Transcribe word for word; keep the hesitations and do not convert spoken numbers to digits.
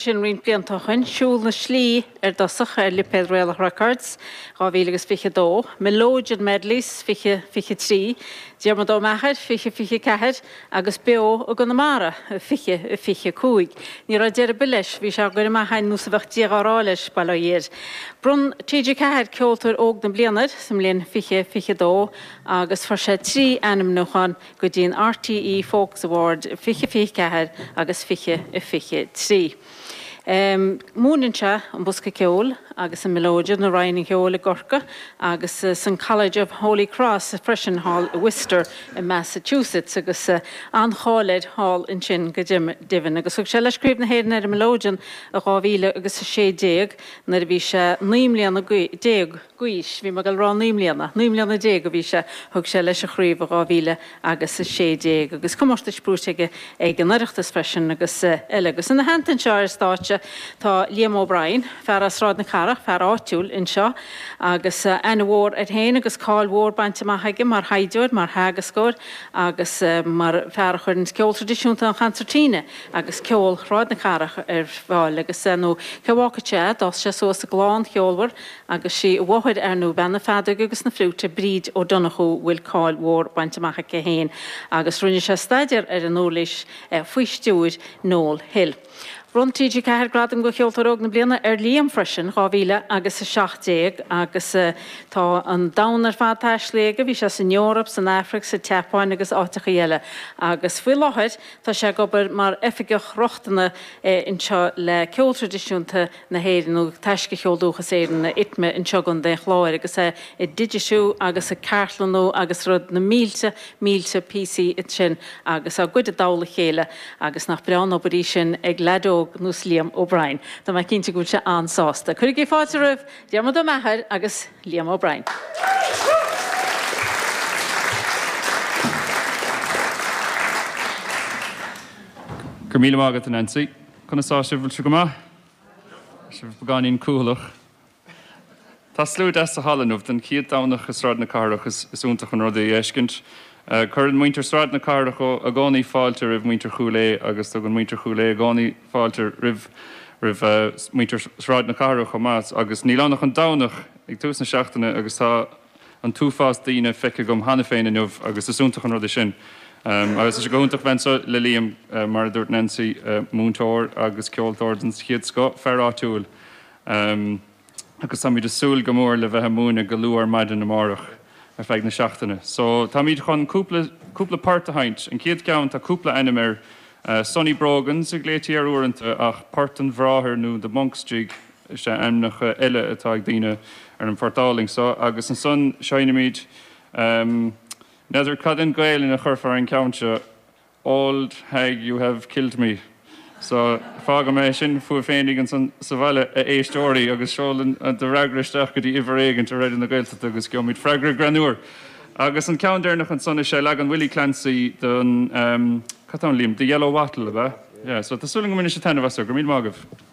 Sin roinnt blianta ó shin, Siúl na Slí ar dtosach ar lipéad Réalach Records, dhá mhíle agus fiche dó, Melodeon Medleys, fiche fiche trí, Diarmuid Ó Meachair, fiche fiche ceathair, agus Beo i gConamara, fiche fiche cúig. Ní raibh deireadh ar bith leis, bhí sé á gcur amach ar nós a bheadh Dia dhá rá leis, bail ó Dhia air. Bhronn T G ceathair Ceoltóir Óg na Bliana air sa mbliain fiche fiche dó agus fuair sé trí ainmniúchán go dtí an R T E Focus Award fiche fiche ceathair agus fiche fiche trí. Múineann sé an bosca ceoil agus an mileoidean i Roinn an Cheoil i gCorcaigh agus san College of Holy Cross freisin thall i Worcester i Massachusetts agus an-cháil air thall ansin go deimhin. Agus thug sé leis Craobh na hÉireann ar an mileoidean i dhá mhíle agus a sé déag nuair a bhí sé naoi mbliana déag d'aois. Bhí mé ag dul a rá naoi mbliana, naoi mbliana déag a bhí sé, thug sé leis an chraobh i dhá mhíle agus a sé déag agus comórtais buaite aige ag an Oireachtas freisin agus eile. Agus ina theannta anseo ar stáitse tá Liam O'Brien, fear as Sráid na Cathrach, fear áitiúil anseo, agus aithne mhór air féin agus cáil mhór bainte amach aige mar thaighdeoir, mar theagascóir agus mar fear a chuireann ceol traidisiúnta an chansairtíne agus ceol Shráid na Cathrach ar fáil. Agus nó cé a bhfágfadh sé é, d'fhás sé suas i gclann cheolmhar agus sí a mháthair ar ndóigh, bean na feadóige agus na fliúite, Bríd Ó Donnchú, bhfuil cáil mhór bainte amach aici féin, agus rinne sé staidéar ar an uirlis faoi stiúir Noel Hill. Bhronn T G ceathair Gradam do Cheoltóir Óg na Bliana ar Liam freisin, dhá mhíle agus a seacht déag, agus tá an domhan ar fad taistilithe aige, bhí sé san Eoraip, san Afraic, sa tSeapáin agus áiteachaí eile. Agus faoi láthair tá sé ag obair mar oifigeach rochtana anseo le ceol traidisiúnta na hÉireann nó Taisce Cheol Dúchas Éireann, ITMA, anseo i gContae an Chláir, agus é ag digitiú agus ag cartlannú agus rud na mílte, mílte píosaí ansin agus á gcuid i dtoll a chéile, agus nach breá an obair í sin ag leaid óg nós Liam O'Brien. Tá mé cinnte go bhfuil sé an-sásta. Cuirigí fáilte roimh Diarmuid Ó Meachair agus Liam O'Brien. Go raibh míle maith agat, a Nancy. Conas tá sibh? Bhfuil sibh go maith? Tá sibh beagáinín cúthaileach. Tá slua deas sa halla inniu don chéad Domhnach i Sráid na Cathrach. Is iontach an rud é a fheiscint. Cuireann muintir Sráid na Cathrach i gcónaí fáilte roimh muintir Chúil Aodha agus tugann muintir Chúil Aodha i gcónaí fáilte roimh roimh muintir Sráid na Cathrach chomh maith. Agus níl ann ach an Domhnach ag tús na seachtaine agus tá an t-uafás daoine feicthe agam cheana féin inniu agus is iontach an rud é sin. Agus tá sé go hiontach bheith anseo le Liam, mar a dúirt Nancy, múinteoir agus ceoltóir den chéad scoth, fear áitiúil. Agus táimid ag súil go mór le bheith ag múineadh go luath ar maidin amárach ar feadh na seachtaine. So, táimid chun cúpla, cúpla port a sheinnt. An chéad cheann, tá cúpla ainm air. Sonny Brogans a ghlaoití air uaireanta ach Port an Bhráthar nó The Monk's Jig is ea ainmneacha eile atá ag daoine ar an phort álainn so. Agus ansan seinnimid, n'fheadar cad in Gaelainn a chuirfear ar an gceann seo, Old hag you have killed me. So, fágfaidh mé sin fúibh féinig ansan sa bhaile, a éisteoirí, agus seol do fhreagra isteach go dtí uimhir éigint ar Raidió na Gaeltachta agus gheobhaimid freagra greannmhar. Agus an ceann deireanach ansan is é leagan Willie Clancy don, cad tá ann Liam? The Yellow Wattle, ab ea? Yeah, so tá súil agam go mbainfidh sibh taitneamh as. Go raibh míle maith agaibh.